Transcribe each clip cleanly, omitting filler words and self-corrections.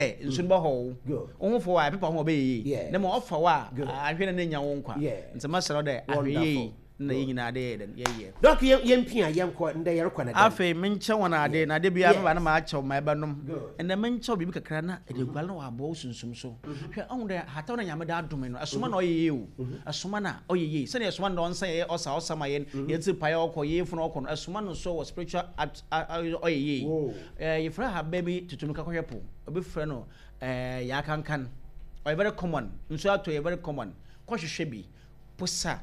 Nsu no bɛhɔ wo. Wo ho fɔ wo a, ɛpepa wo ho a ɔbɛyɛ yie. Na mmom ɔfa wo a, anhwɛ na n'anya wo nkwa. Nti mɛsrɛ wo dɛ ahwɛ yie na yɛn nyinaa de yɛyɛ dɛn? Yɛyɛ. Doc yɛ yɛmpia yɛnkɔ ndɛ yɛrekɔ na dɛn? Afei menkyɛ wɔn ade, na da biara meba na makyɛ wo ma ɛbɛnom. Ɛnnɛ menkyɛ wo biribi kakra na ɛde aguare na wɔabɔ wo sunsum so. Hwɛ, ɔhu dɛ hataw na Nyame de adome no, ɛsoma na ɔyɛ yie o. Ɛsoma na ɔyɛ yie. Sɛdeɛ ɛsoma no dɛ ɔnsa yɛyɛ ɔsa ɔsa ma yɛn, yɛn tsir pae a ɔkɔ, yɛn yafunu ɔkɔ no, ɛsoma no nso wɔ spiritual at a ɔyɛ yie. Yɛfrɛ ahaban bi tutumika kɔhwɛ po. Obi frɛ no eh, yaakankan. Ɔyɛ very common. Nsu atɔ yɛ very common. Kɔhwehwɛ bi. Posa.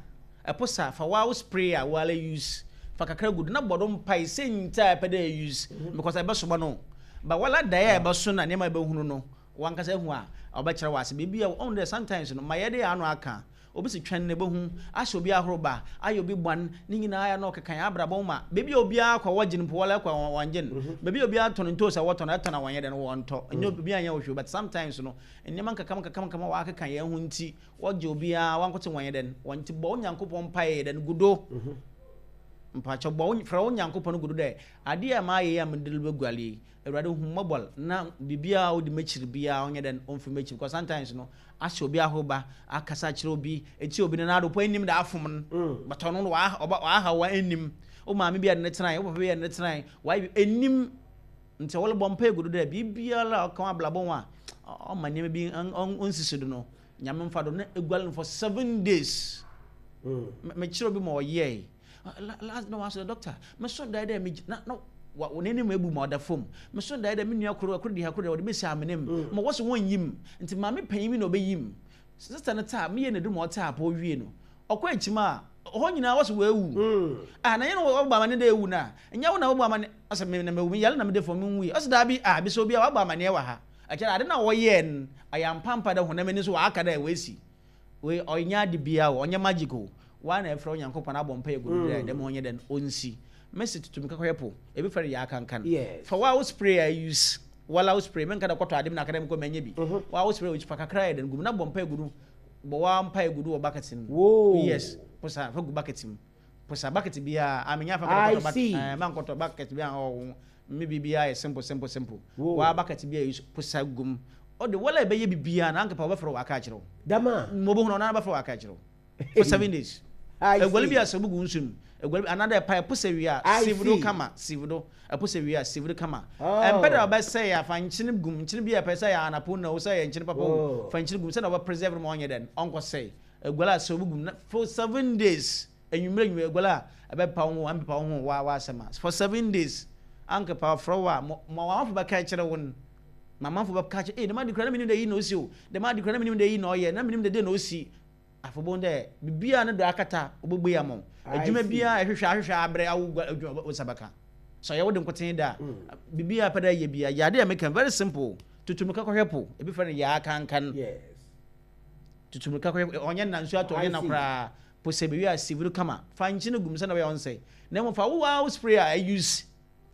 Ɛposa, fa wo spray a woara use. Fa kakra gu do na bɔ do mpae sɛ ntsi a ɛpɛ dɛ use because ɛbɛsoma no. But woara dae a ɛbɛso na nneɛma a ɛbɛhunu no, wankasa ehu a, ɔbɛkyerɛ wo ase. Biribi a, ɔhu dɛ sometimes no, ma yɛde yɛn ano aka. Obi se twɛn na ebohu, ahyɛ obi ahoroba, ayɛ obi bɔn, ne nyinaa ayɛ na ɔkeka hɛn abrabɔ ho ma beebi a obiara kɔ a wɔgye no mpo wɔla kɔ a wɔnngye no. Beebi a obiara tɔn ntoosi a wɔtɔn ɛtɔn a wɔnnyɛ dɛn wɔnntɔ. Nnyɛ obiara nnyɛ wo hwee but sometimes no nneɛma nkakam nkakam nkakam a wɔakeka hɛn ho ntsi wɔgye obiara wankotsee wɔnnyɛ dɛn wɔnntse. Bɔ wo Nyankopɔn mpae yɛ dɛn gu do. Mpakyɛw bɔ wo frɛ wo Nyankopɔn gu do dɛ adeɛ a mayɛ yi a mede reboguar yi Awurade hu me mmɔbɔr na biribiara a odi m'ekyir biara ɔnyɛ dɛn ɔmfi m'ekyir because sometimes no ahyɛ obi ahorba, akasa akyerɛ obi, etsie obi no n'ado mpo ennyim dɛ afom no but ɔno no ɔaha ɔahaw wo a ennyim, wo maame bi a ɛde no tsenae, wo papa bi a ɛde no tsenae, ɔayɛ bi ennyim ntsi ɔrobɔ mpaa egu do dɛ biribiara a ɔka w'abrabɔ ho a ɔma nneɛma bi ɔnnsisi do no Nyame mfa do na eguar no for 7 days. Mekyerɛ obi ma ɔyɛe last na wasɔ doctor meso dae dɛ me na na wa n'anim ebu ma ɔda fam meso dae dɛ me nua koro koro di ha koro de ɔde besi amena mu ma wɔso wɔn yim nti maame panyin bi na ɔbɛyi mu sister no taa meyɛ n'adu ma ɔtaa apɔ wie no ɔkɔ akyim a hɔ nyinaa wɔso wɔawu ah na yɛn wɔbɔ amane dɛ ewu na nyɛ wo na wɔbɔ amane ɔsɛ me na mewu me yare na mede fam me nwui ɔsɛ daabi ah bisa obi a wabɔ amaneɛ wɔ ha ɛkyerɛ ade na wɔyɛɛ no ayɛ ampampa dɛ honam ani so wɔaka dɛ wɔasi wei ɔnyɛ ade biara o ɔnyɛ magic o waa na ɛfrɛ Onyankopɔn abɔ mpa egu no dɛ dɛm ɔnyɛ dɛn ɔnsi mesi tutu mika kɔhwɛ po ebi fɛ no yɛ akankan fa waa wo spray a use wala wo spray menka dɛ kɔtɔ ade mu na aka dɛ mekɔ manyɛ bi waa wo spray fa kakra yɛ dɛn gu mu na bɔ mpa egu no bɔ waa mpa egu do wɔ bucket no yes posa fa gu bucket mu posa bucket biara a menya fa kɔtɔ bucket eh mankɔtɔ bucket bi a ɔwɔ me biribiara yɛ simple simple simple waa bucket bi a use posa gu mu ɔde wala ɛbɛyɛ biribiara na anka pa wɔbɛfrɛ wo aka akyerɛ wo dama mo bɛhunu ɔno ara bɛfrɛ wo aka akyerɛ wo for 7 days. Eguale bi a sɛ obi gu nsu mu eguale bi anaadɛ ɛpa ɛpo sɛ wie a sieve do kama sieve do ɛpo sɛ wie a sieve do kama ɛmpɛ dɛ ɔbɛsɛe a fa nkyene gum nkyene bi a ɛpɛ sɛ ɛyɛ anapo na o sɛ ɛyɛ nkyene papa o fa nkyene gum sɛdeɛ ɔbɛ preserve no ma ɔnyɛ dɛn ɔnkɔsɛe. Eguale a sɛ obi gum na for 7 days enyimmerɛ enyimmerɛ eguale a ɛbɛpepa wo ho ɛmpepa wo ho waa w'asɛm a for 7 days ankepa ɔfrɛ wo a ma ma w'amafo bɛka akyerɛ wo no ma amanfo bɛka akyerɛ ee dɛm ade kura na menim dɛ iyi na osi o dɛm ade kura na menim dɛ iyi na ɔyɛ na menim dɛ dɛn na osi. Afei obohu dɛ biribiara no do akata, obobue ama wo. Edwuma biara a ehwehwɛ ahwehwɛ abrɛ awo gua edwuma wo nsa bɛka. Sɛ ɔyɛ wo de nkotsee dɛ a, biribiara a epɛ dɛ eyɛ biara, yɛ ade a meka yi, very simple. Tutu mirika kɔhwɛ po, ebi frɛ no yaa kankan. Tutu mirika kɔhwɛ, ɔnnyɛ nna, nsu atɔ ɔnnyɛ nna koraa. Po sɛ bewie a, siw no kama. Fa nkyen gu mu sɛnea ɔbɛyɛ a ɔnnsɛe. Na mbom fa wo ara wo spray a use.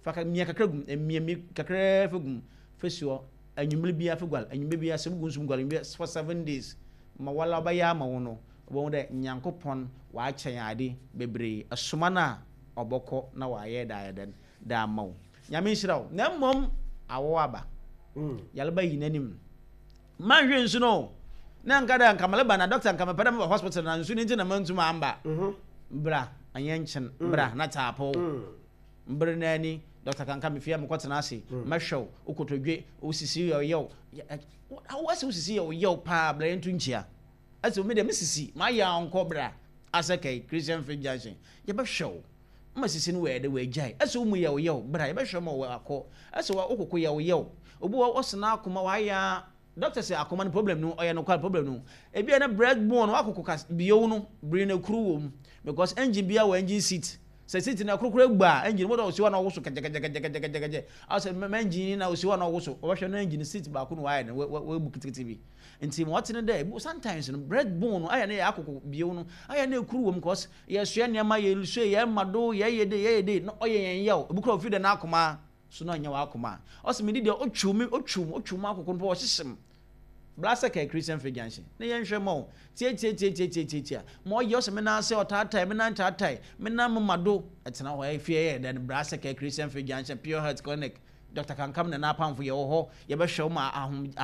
Fa ka mia kakra gu mu, mia mi kakraa fa gu mu, fa si hɔ anwummere biara fa guare, anwummere biara sɛ wogu nsu mu guare anwummere biara for 7 days. Ma wala ɔbɛyɛ ama wo no, wobɛhu dɛ Nyankopɔn ɔakyɛ hɛn ade bebree. Soma no a ɔbɔkɔ na ɔayɛ dɛ ayɛ dɛn dɛ ama wo. Nyame nhyira wo. Na mbom awɔw aba. Yarba yi n'enyim. Mannhwɛ nsu no o. Na nka dɛ nka mereba na doctor nka mepɛ dɛ meba hospital na nsu no ntsi na manntum ammba. Bra, annyɛ nkyen, bra na tse apɔw. Mber no ara ni, Dɔkta Kanka, mifii a mokɔtsena ase, mɛhwɛ wo, wo kotodwe, wo sisi yɛ ɔyaw. Wo ase wo sisi yɛ ɔyaw paa, bra yɛnto nkyia. Ase me deɛ me sisi, mayɛ a ɔnkɔ bra. Asɛkɛi, Christian Faith Junction, yɛbɛhwɛ wo. Ma sisi no wɔ ɛdɛ, wɔagyae. Ase wo mu yɛ ɔyaw, bra yɛbɛhwɛ ma wakɔ. Ase wo koko yɛ ɔyaw. Obi wɔ hɔ, ɔsena akoma, wayɛ a. Doctor sɛ akoma no problem no ɔyɛ nokwar problem no ebia na breast bone no wakoko kas bio no bere no ekuru wɔ mu because engine bia wɔ engine seat sɛ seat no ɛkoro koro egbu a engine mo dɔ osi hɔ na ɔwoso kɛgyɛkɛgyɛkɛgyɛkɛgyɛ asɛ mɛ engine na osi hɔ na ɔwoso ɔbɛhwɛ no engine seat baako no wayɛ no wabu kitikiti bi nti ma ɔte ne dɛ sometimes no breast bone no ayɛ ne yɛ akoko bio no ayɛ na ekuru wɔ mu cause yɛsoɛ nneɛma yɛsue yɛ ma do yɛyɛ de yɛyɛ de na ɔyɛ yɛn yaw ebi kora ofi dɛ n'akoma so na ɔnyɛ w'akoma a ɔse mede deɛ ɔtwiw me ɔtwiw me ɔtwiw m'akoko no pɛ ɔhyehyem bla sɛ kɛɛ Christian Faith Junction na yɛnhwɛ ma o tiatiatiatiatiatia ma ɔyɛ ɔsɛ me nan ase ɔtaatae me nan taatae me nan moma do ɛtena hɔ ɛfie yɛ dɛn bra sɛ kɛɛ Christian Faith Junction Pure Health Clinic. Dr. Kankam na n'apamfo yɛwɔ hɔ, yɛbɛhwɛ wo ma ahom.